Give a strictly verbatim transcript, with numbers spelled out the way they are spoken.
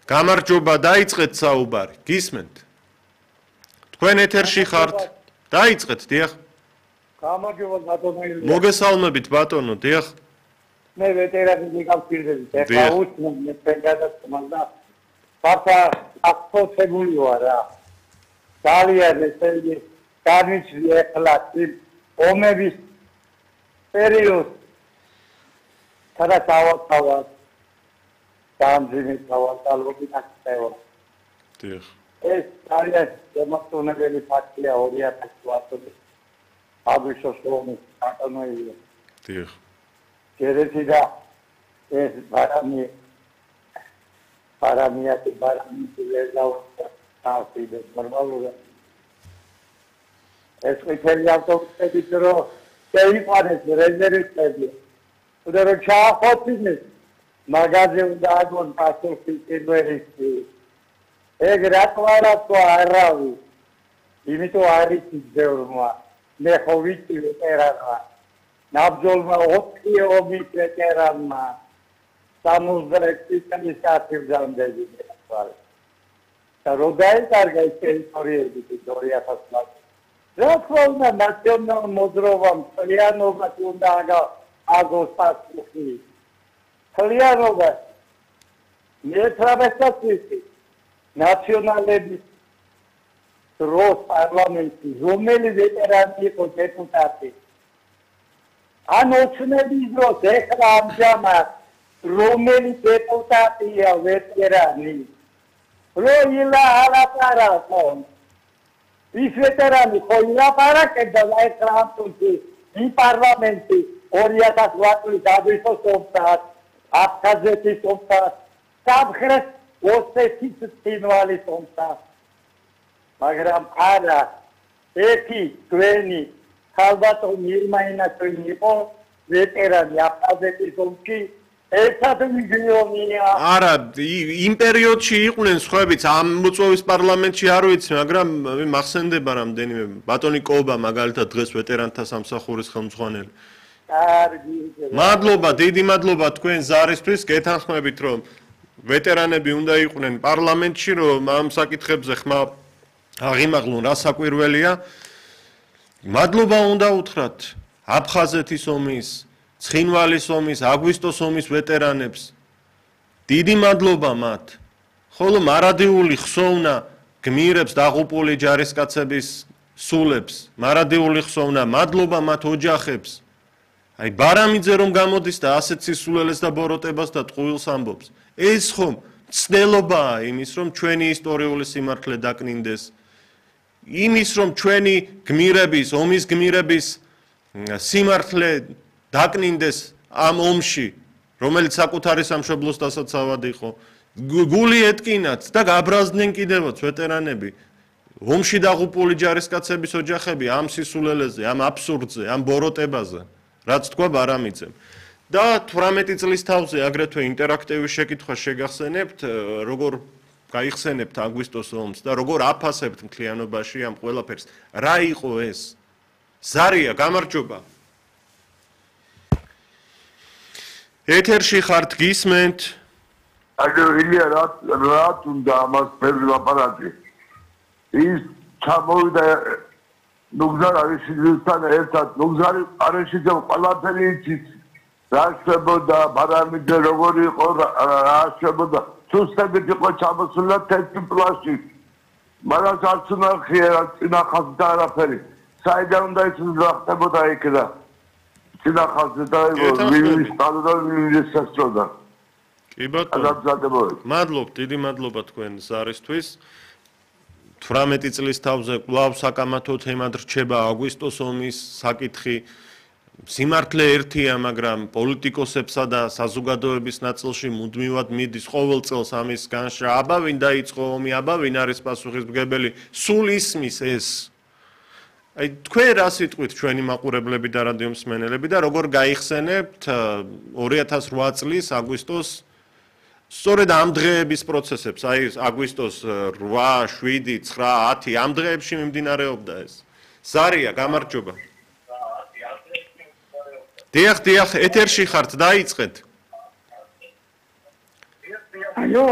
გამარჯობა, დაიწყეთ საუბარი. გისმენთ? თქვენ ეთერში ხართ. დაიწყეთ, დიახ. გამარჯობა ბატონო. მოგესალმებით ბატონო, დიახ. მე ვეტერანი მიგავსირდებით. ეხლა უსმენ მე პენგადასმან და ფაფა აკცოტებული ვარ რა. ძალიან ესე იგი განიცდი ეხლა ომების პერიოდს. სადაც ავათავად დამძიმით ავატალობით აქცევა. დიახ. ეს ძალიან შემოწმებელი ფაქტია ორი ათას ათი აგვისტოს ომის ატონოია. დიახ. გერეთი და ეს ბარამი ბარამიათი ბარამი ლეზაუ თავიდე ნორმალურია. ეს ყვითელი ავტობუსები რო შეიყვანეს რეზერვისტები. უნდა რომ ჩაახოთინეს მაგაზე უნდა აგონ პასუხი პირველი. ეგ რატოა თქვა არავი. იმიტომ არის ძეურმა. მე ხო ვიცი ვეტერანმა. ნაბძოლმა ოთხი ომის ვეტერანმა სამოცდაექვსი წლის გასაგზავნები ახლა. და რო დაიწყა ეს ტერიტორიები ორი ათას ათი. რა თქმა უნდა ნაციონალურ მოძრაობამ ძალიანობას უნდა აგოს პასუხი. ძალიანობა მეცხრამეტი ნაციონალების დროს პარლამენტი რომელი ვეტერანი იყო დეპუტატი ან ოცნების დროს ეხლა ამჟამად რომელი დეპუტატია ვეტერანი რო ილა ალაპარაკო ის ვეტერანი ხო ილაპარაკებდა ეხლა ამ იმ პარლამენტი ორი ათას ათი აგვისტოს ომთან აფხაზეთის ომთან სამხრეთ ოსეთის წინვალის ომთან მაგრამ არა ეთი თქვენი ხალბატონი ირმაინაშვილი იყო ვეტერანი აფხაზეთის ომში ერთად მიგიონია არა იმ პერიოდში იყვნენ სხვაებიც ამ მოწვევის პარლამენტში არ ვიცი მაგრამ მახსენდება რამდენიმე ბატონი კობა მაგალითად დღეს ვეტერანთა სამსახურის ხელმძღვანელი მადლობა დიდი მადლობა თქვენ ზარისთვის გეთანხმებით რომ ვეტერანები უნდა იყვნენ პარლამენტში რომ ამ საკითხებზე ხმა აღიმაღლონ რა საკვირველია მადლობა უნდა უთხრათ აფხაზეთის ომის ცხინვალის ომის აგვისტოს ომის ვეტერანებს დიდი მადლობა მათ ხოლო მარადიული ხსოვნა გმირებს დაღუპული ჯარისკაცების სულებს მარადიული ხსოვნა მადლობა მათ ოჯახებს აი ბარამიძე რომ გამოდის და ასეთ სისულელეს და ბოროტებას და ტყუილს ამბობს ეს ხომ ცნელობაა იმის რომ ჩვენი ისტორიული სიმართლე დაკნინდეს იმის რომ ჩვენი გმირების ომის გმირების სიმართლე დაკნინდეს ამ ომში რომელიც საკუთარი სამშობლოს დასაცავად იყო გული ეთკინათ და გაბრაზდნენ კიდევაც ვეტერანები ომში დაღუპული ჯარისკაცების ოჯახები ამ სისულელეზე ამ აბსურდზე ამ ბოროტებაზე რაც თქვა ბარამიძემ და თვრამეტი წლის თავზე აგრეთვე ინტერაქტიული შეკითხვა შეგახსენებთ როგორ გაიხსენებთ აგვისტოს ომს და როგორ აფასებთ მთლიანობაში ამ ყველაფერს რა იყო ეს ზარია გამარჯობა ეთერში ხართ გისმენთ აგერ ილია რა რა თუნდა ამას ფერზე ლაპარაკი ის ჩამოვიდა ნუგზარ არიშიძესთან ერთად ნუგზარი არიშიძე ყველაფერი იცით რა შეებოდა ბარამიძე როგორი იყო რა შეებოდა სუსტებით იყო ჩამოსული თეთრი პლაშტი მაგრამ არც უნახია წინახავს და არაფერი საიდან უნდა იცოდეს რა ხდებოდა იქ და წინახავს და ვინის სტადია ვინის სასწორდა კი ბატონო მადლობ დიდი მადლობა თქვენ ზარისთვის თვრამეტი წლის თავზე კვლავ საკამათო თემად რჩება აგვისტოს ომის საკითხი სიმართლე ერთია მაგრამ პოლიტიკოსებსა და საზოგადოების ნაწილში მუდმივად მიდის ყოველ წელს ამის განშრა აბა ვინ დაიწყო ომი აბა ვინ არის პასუხისმგებელი სულ ისმის ეს აი თქვენ რა სიტყვით ჩვენი მაყურებლები და რადიო მსმენელები და როგორ გაიხსენებთ ორი ათას რვა წლის აგვისტოს სწორედ ამ დღეების პროცესებს აი აგვისტოს რვა შვიდი ცხრა ათი ამ დღეებში მიმდინარეობდა ეს ზარია გამარჯობა დიახ დიახ ეთერში ხართ დაიწყეთ ალო